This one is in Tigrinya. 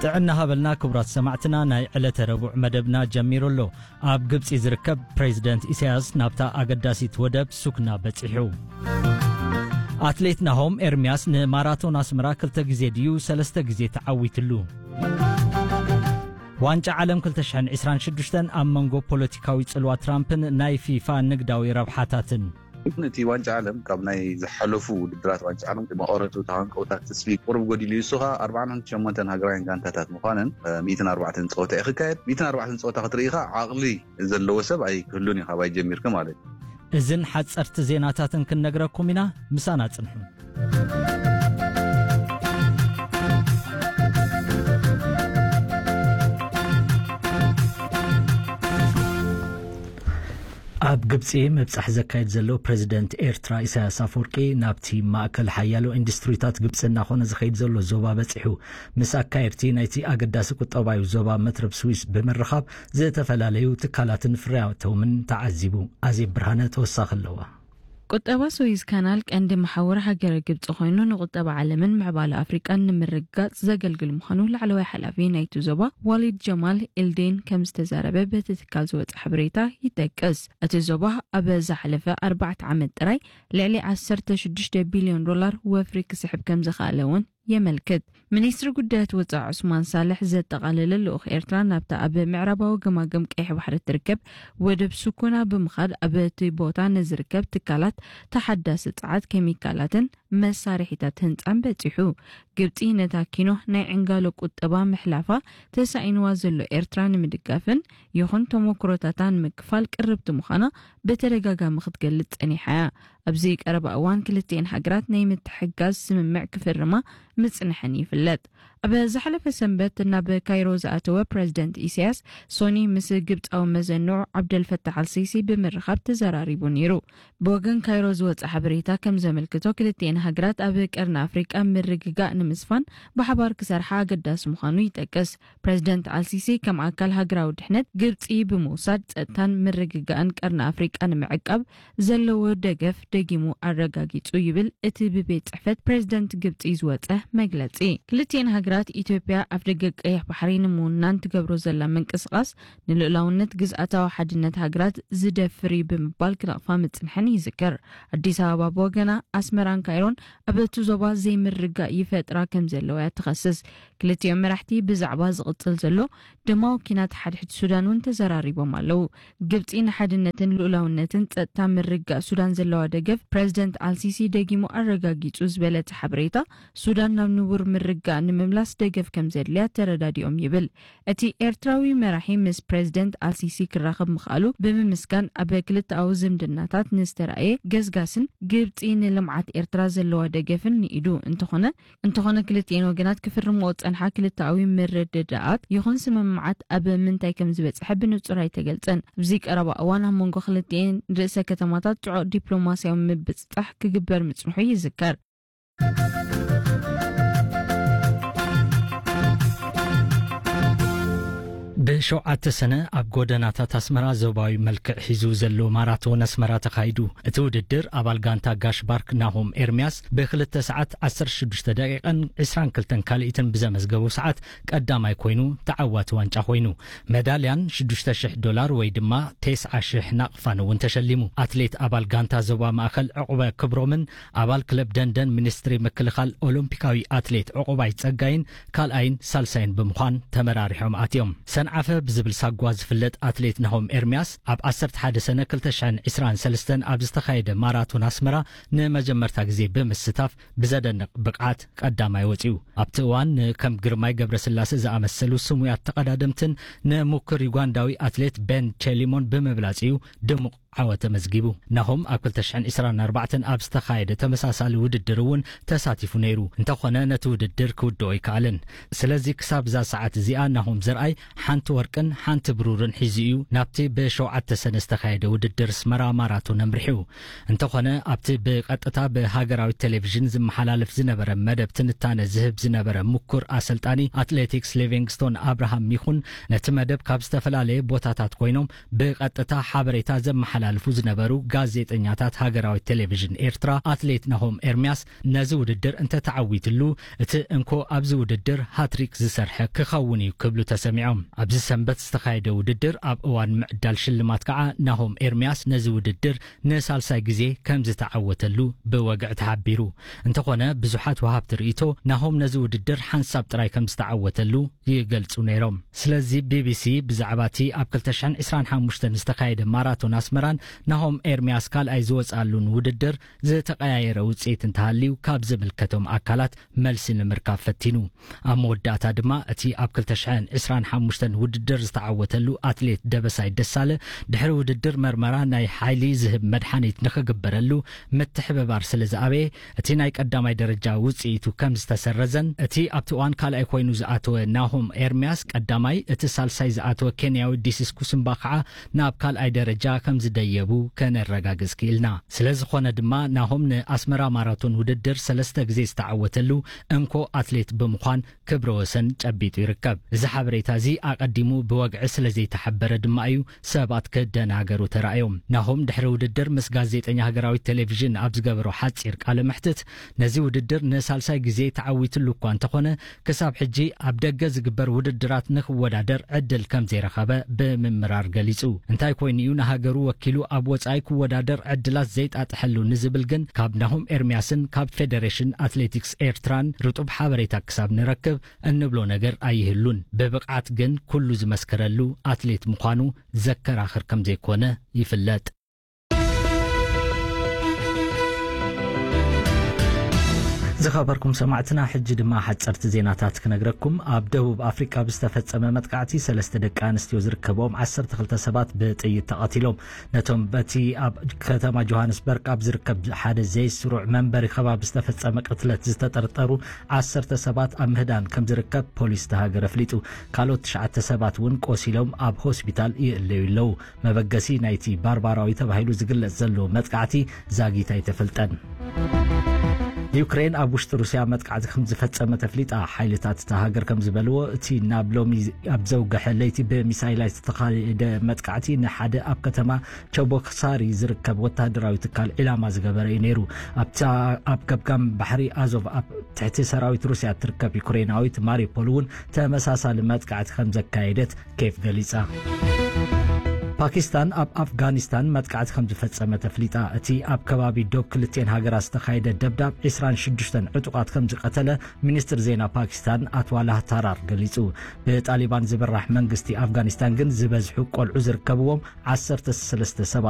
ጥዕና ሃበልና ክቡራት ሰማዕትና፣ ናይ ዕለተ ረቡዕ መደብና ጀሚሩ ኣሎ። ኣብ ግብጺ ዝርከብ ፕሬዚደንት ኢሳያስ ናብታ ኣገዳሲት ወደብ ሱክና በጺሑ። ኣትሌት ናሆም ኤርምያስ ንማራቶን ኣስመራ ክልተ ግዜ ድዩ ሰለስተ ግዜ ተዓዊትሉ? ዋንጫ ዓለም ክልተ ሽሕን ዕስራን ሽዱሽተን ኣብ መንጎ ፖለቲካዊ ጽልዋ ትራምፕን ናይ ፊፋ ንግዳዊ ረብሓታትን። እቲ ዋንጫ ዓለም ካብ ናይ ዝሓለፉ ውድድራት ዋንጫ ዓለም መቐረቱ ተሃንቀውታት ተስፊ ቁሩብ ጎዲሉ እዩ። እሱ ኸኣ ኣርባዓን ሸሞንተን ሃገራውያን ጋንታታት ምዃነን፣ እ፣ ሚእትን ኣርባዕተን ጸወታ እዩ ክካየድ። ሚእትን ኣርባዕተን ጸወታ ክትርኢ ኸኣ ዓቕሊ ዘለዎ ሰብ ኣይክህሉን እዩ፣ ካባይ ጀሚርካ ማለት እዩ። እዝን ሓጸርቲ ዜናታትን ክንነግረኩም ኢና፣ ምሳና ጽንሑ። ኣብ ግብጺ ምብጻሕ ዘካየድ ዘሎ ፕሬዚደንት ኤርትራ ኢሳያስ ኣፈወርቂ ናብቲ ማእከል ሓያሎ ኢንዱስትሪታት ግብጺ እናኾነ ዝኸይድ ዘሎ ዞባ በጺሑ። ምስ ኣካየድቲ ናይቲ ኣገዳሲ ቁጠባዊ ዞባ መትረብ ስዊስ ብምርኻብ ዝተፈላለዩ ትካላትን ፍርያቶምን ተዓዚቡ። ኣዜብ ብርሃነ ተወሳኺ ኣለዋ። ቁጠባ ስዊዝ ካናል ቀንዲ መሓውር ሃገረ ግብጺ ኮይኑ፣ ንቁጠባ ዓለምን ምዕባለ ኣፍሪቃን ንምርግጋጽ ዘገልግል ምዃኑ ላዕለዋይ ሓላፊ ናይቲ ዞባ ዋሊድ ጀማል ኤልዴን ከም ዝተዛረበ በቲ ትካል ዝወጸ ሓበሬታ ይጠቅስ። እቲ ዞባ ኣብ ዝሓለፈ ኣርባዕተ ዓመት ጥራይ ልዕሊ ዓሰርተ ሽዱሽተ ቢልዮን ዶላር ወፍሪ ክስሕብ ከም ዝኸኣለ እውን የመልክት። ሚኒስትሪ ጉዳያት ወጻኢ ዑስማን ሳልሕ ዘጠቓለለ ልኡኽ ኤርትራ ናብታ ኣብ ምዕራባዊ ገማግም ቀይሕ ባሕሪ እትርከብ ወደብ ሱኮና ብምኻድ፣ ኣብ እቲ ቦታ ንዝርከብ ትካላት ተሓዳሲ ጸዓት፣ ኬሚካላትን መሳርሒታት ህንጻን በጺሑ። ግብጺ ነታ ኪኖ ናይ ዕንጋሎ ቁጠባ ምሕላፋ ተሳኢንዋ ዘሎ ኤርትራ ንምድጋፍን ይኹን ተሞክሮታታ ንምክፋል ቅርብቲ ምዃና ብተደጋጋሚ ክትገልጽ ጸኒሓ እያ። ኣብዚ ቀረባ እዋን ክልቲኤን ሃገራት ናይ ምትሕግጋዝ ስምምዕ ክፍርማ ምጽንሐን ይፍለጥ። ኣብ ዝሓለፈ ሰንበት ናብ ካይሮ ዝኣተወ ፕረዚደንት ኢሳያስ፣ ሶኒ ምስ ግብጻዊ መዘንዑ ዓብደልፈታሕ ኣልሲሲ ብምርኻብ ተዘራሪቡ ነይሩ። ብወገን ካይሮ ዝወጸ ሓበሬታ ከም ዘመልክቶ፣ ክልቲኤን ሃገራት ኣብ ቀርኒ ኣፍሪቃ ምርግጋእ ንምስፋን ብሓባር ክሰርሓ ኣገዳሲ ምዃኑ ይጠቅስ። ፕረዚደንት ኣልሲሲ ከም ኣካል ሃገራዊ ድሕነት ግብጺ ብምውሳድ ጸጥታን ምርግጋእን ቀርኒ ኣፍሪቃ ንምዕቃብ ዘለዎ ደገፍ ደጊሙ ኣረጋጊጹ ይብል እቲ ብቤት ጽሕፈት ፕሬዝደንት ግብጺ ዝወጸ መግለጺ። ክልቲኤን ሃገራት፣ ኢትዮጵያ፣ ኣፍደገ ቀይሕ ባሕሪ ንምውናን ትገብሮ ዘላ ምንቅስቓስ ንልኡላውነት ግዝኣታዊ ሓድነት ሃገራት ዝደፍር እዩ ብምባል ክነቕፋ ምጽንሐን ይዝከር። ኣዲስ ኣበባ ብወገና፣ ኣስመራን ካይሮን ኣብ እቲ ዞባ ዘይምርግጋእ ይፈጥራ ከም ዘለዋ እያ ትኸስስ። ክልቲኦም መራሕቲ ብዛዕባ ዝቕጽል ዘሎ ደማዊ ኲናት ሓድሕድ ሱዳን እውን ተዘራሪቦም ኣለዉ። ግብጺ ንሓድነትን ልኡላውነትን ጸጥታ ምርግጋእ ሱዳን ዘለዋ ደገፍ ፕረዚደንት ኣልሲሲ ደጊሙ ኣረጋጊጹ ዝበለ እቲ ሓበሬታ፣ ሱዳን ናብ ንቡር ምርግጋእ ንምምላስ ደገፍ ከም ዘድልያ ተረዳዲኦም ይብል። እቲ ኤርትራዊ መራሒ ምስ ፕረዚደንት ኣልሲሲ ክራኸብ ምኽኣሉ ብምምስጋን፣ ኣብ ክልተኣዊ ዝምድናታት ንዝተራእየ ገስጋስን ግብጺ ንልምዓት ኤርትራ ዘለዋ ደገፍን ንኢዱ። እንተኾነ፣ እንተኾነ ክልቲኤን ወገናት ክፍርምኦ ዝጸንሓ ክልተኣዊ ምርድዳኣት ይኹን ስምምዓት ኣብ ምንታይ ከም ዝበጽሐ ብንጹር ኣይተገልጸን። ኣብዚ ቀረባ እዋን ኣብ መንጎ ክልቲኤን ርእሰ ከተማታት ጽዑቕ ዲፕሎማስያዊ ምብጽጻሕ ክግበር ምጽንሑ ይዝከር። ብሸውዓተ ሰነ ኣብ ጎደናታት ኣስመራ ዞባዊ መልክዕ ሒዙ ዘሎ ማራቶን ኣስመራ ተኻይዱ። እቲ ውድድር ኣባል ጋንታ ጋሽ ባርክ ናሆም ኤርምያስ ብክልተ ሰዓት ዓሰርተ ሽዱሽተ ደቂቕን ዕስራን ክልተን ካልኢትን ብዘመዝገቦ ሰዓት ቀዳማይ ኮይኑ ተዓዋቲ ዋንጫ ኮይኑ። መዳልያን ሽዱሽተ ሽሕ ዶላር ወይ ድማ ተስዓ ሽሕ ናቕፋን እውን ተሸሊሙ። ኣትሌት ኣባል ጋንታ ዞባ ማእከል ዕቑበ ክብሮምን ኣባል ክለብ ደንደን ሚኒስትሪ ምክልኻል ኦሎምፒካዊ ኣትሌት ዕቑባይ ጸጋይን ካልኣይን ሳልሳይን ብምዃን ተመራሪሖም ኣትዮም። ሰንዓፈ ብዝብል ሳጓ ዝፍለጥ ኣትሌት ናሆም ኤርምያስ ኣብ ዓሰርተ ሓደ ሰነ ክልተ ሽሕን ዕስራን ሰለስተን ኣብ ዝተኻየደ ማራቶን ኣስመራ ንመጀመርታ ግዜ ብምስታፍ ብዘደንቕ ብቕዓት ቀዳማይ ወጺኡ። ኣብቲ እዋን ንከም ግርማይ ገብረስላሴ ዝኣመሰሉ ስሙያት ተቐዳደምትን ንሙኩር ዩጋንዳዊ ኣትሌት ቤን ቼሊሞን ብምብላጽ እዩ ድሙቕ ዓወት ተመዝጊቡ። ናሆም ኣብ ክልተ ሽሕን ዕስራን ኣርባዕተን ኣብ ዝተኻየደ ተመሳሳሊ ውድድር እውን ተሳቲፉ ነይሩ። እንተኾነ ነቲ ውድድር ክውድኦ ኣይከኣለን። ስለዚ ክሳብ እዛ ሰዓት እዚኣ ናሆም ዘርኣይ ሓንቲ ወርቅን ሓንቲ ብሩርን ሒዙ እዩ ናብቲ ብሸውዓተ ሰነ ዝተኻየደ ውድድር ኣስመራ ማራቶን ኣምሪሑ። እንተኾነ ኣብቲ ብቐጥታ ብሃገራዊ ቴሌቪዥን ዝመሓላለፍ ዝነበረ መደብ ትንታነ ዝህብ ዝነበረ ምኩር ኣሰልጣኒ ኣትሌቲክስ ሊቪንግስቶን ኣብርሃም ይኹን ነቲ መደብ ካብ ዝተፈላለየ ቦታታት ኮይኖም ብቐጥታ ሓበሬታ ዘመሓላ ዘመሓላልፉ ዝነበሩ ጋዜጠኛታት ሃገራዊት ቴሌቪዥን ኤርትራ፣ ኣትሌት ናሆም ኤርምያስ ነዚ ውድድር እንተተዓዊትሉ፣ እቲ እንኮ ኣብዚ ውድድር ሃትሪክ ዝሰርሐ ክኸውን እዩ ክብሉ ተሰሚዖም። ኣብዚ ሰንበት ዝተኻየደ ውድድር፣ ኣብ እዋን ምዕዳል ሽልማት ከዓ፣ ናሆም ኤርምያስ ነዚ ውድድር ንሳልሳይ ግዜ ከም ዝተዓወተሉ ብወግዒ ተሓቢሩ። እንተኾነ፣ ብዙሓት ወሃብቲ ርእይቶ ናሆም ነዚ ውድድር ሓንሳብ ጥራይ ከም ዝተዓወተሉ ይገልጹ ነይሮም። ስለዚ፣ ቢቢሲ ብዛዕባ እቲ ኣብ ክልተ ሽሕን ዕስራን ሓሙሽተን ዝተኻየደ ማራቶን ኣስመራን ናሆም ኤርምያስ ካልኣይ ዝወጽኣሉን ውድድር ዝተቐያየረ ውጽኢት እንተሃልዩ፣ ካብ ዝምልከቶም ኣካላት መልሲ ንምርካብ ፈቲኑ። ኣብ መወዳእታ ድማ፣ እቲ ኣብ ክልተ ሽሕን ዕስራን ሓሙሽተን ውድድር ዝተዓወተሉ ኣትሌት ደበሳይ ደሳለ፣ ድሕሪ ውድድር መርመራ ናይ ሓይሊ ዝህብ መድሓኒት ንኽግበረሉ ምትሕብባር ስለ ዝኣበየ፣ እቲ ናይ ቀዳማይ ደረጃ ውጽኢቱ ከም ዝተሰረዘን፣ እቲ ኣብቲ እዋን ካልኣይ ኮይኑ ዝኣተወ ናሆም ኤርምያስ ቀዳማይ፣ እቲ ሳልሳይ ዝኣተወ ኬንያዊ ዲሲስ ኩስምባ ከዓ ናብ ካልኣይ ደረጃ ከም ዝደየቡ ከነረጋግጽ ክኢልና። ስለ ዝኾነ ድማ፣ ናሆም ንኣስመራ ማራቶን ውድድር ሰለስተ ግዜ ዝተዓወተሉ እንኮ ኣትሌት ብምዃን ክብረ ወሰን ጨቢጡ ይርከብ። እዚ ሓበሬታ እዚ ኣቐዲሙ ብወግዒ ስለ ዘይተሓበረ ድማ እዩ ሰባት ክደናገሩ ተራእዮም። ናሆም ድሕሪ ውድድር ምስ ጋዜጠኛ ሃገራዊት ቴሌቪዥን ኣብ ዝገበሮ ሓጺር ቃለ መሕትት፣ ነዚ ውድድር ንሳልሳይ ግዜ ተዓዊትሉ እኳ እንተኾነ፣ ክሳብ ሕጂ ኣብ ደገ ዝግበር ውድድራት ንክወዳደር ዕድል ከም ዘይረኸበ ብምምራር ገሊጹ። እንታይ ኮይኑ እዩ ንሃገሩ ወኪሉ ኣብ ወጻኢ ክወዳደር ዕድላት ዘይጣጥሐሉ ንዝብል ግን፣ ካብ ናሆም ኤርምያስን ካብ ፌደሬሽን ኣትሌቲክስ ኤርትራን ርጡብ ሓበሬታ ክሳብ ንረክብ፣ እንብሎ ነገር ኣይህሉን። ብብቕዓት ግን ኩሉ ዝመስከረሉ ኣትሌት ምዃኑ ዘከራኽር ከም ዘይኮነ ይፍለጥ። ዝኸበርኩም ሰማዕትና፣ ሕጂ ድማ ሓጸርቲ ዜናታት ክነግረኩም። ኣብ ደቡብ ኣፍሪቃ ብዝተፈጸመ መጥቃዕቲ፣ ሰለስተ ደቂ ኣንስትዮ ዝርከብኦም ዓሰርተ ክልተ ሰባት ብጥይት ተቐቲሎም። ነቶም በቲ ኣብ ከተማ ጆሃንስበርግ ኣብ ዝርከብ ሓደ ዘይስሩዕ መንበሪ ከባቢ ዝተፈጸመ ቅትለት ዝተጠርጠሩ ዓሰርተ ሰባት ኣብ ምህዳን ከም ዝርከብ ፖሊስ እታ ሃገር ኣፍሊጡ። ካልኦት ትሽዓተ ሰባት እውን ቆሲሎም ኣብ ሆስፒታል ይእለዩ ኣለዉ። መበገሲ ናይቲ ባርባራዊ ተባሂሉ ዝግለጽ ዘሎ መጥቃዕቲ ዛጊት ኣይተፈልጠን። ዩክሬን ኣብ ውሽጢ ሩስያ መጥቃዕቲ ከም ዝፈጸመት ኣፍሊጣ። ሓይልታት እታ ሃገር ከም ዝበልዎ፣ እቲ ናብ ሎሚ ኣብ ዘውግሐ ለይቲ ብሚሳይላት ዝተኻየደ መጥቃዕቲ ንሓደ ኣብ ከተማ ቸቦክሳሪ ዝርከብ ወተሃደራዊ ትካል ዒላማ ዝገበረ እዩ ነይሩ። ኣብታ ኣብ ገምጋም ባሕሪ ኣዞቭ ኣብ ትሕቲ ሰራዊት ሩስያ እትርከብ ዩክሬናዊት ማሪፖል እውን ተመሳሳሊ መጥቃዕቲ ከም ዘካየደት ኬፍ ገሊጻ። ፓኪስታን ኣብ ኣፍጋኒስታን መጥቃዕቲ ከም ዝፈጸመት ኣፍሊጣ። እቲ ኣብ ከባቢ ዶብ ክልቲኤን ሃገራት ዝተኻየደ ደብዳብ ዒስራን ሽዱሽተን ዕጡቓት ከም ዝቐተለ ሚኒስትር ዜና ፓኪስታን ኣትዋላህ ታራር ገሊጹ። ብጣሊባን ዝምራሕ መንግስቲ ኣፍጋኒስታን ግን ዝበዝሑ ቆልዑ ዝርከብዎም ዓሰርተ ሰለስተ ሰባት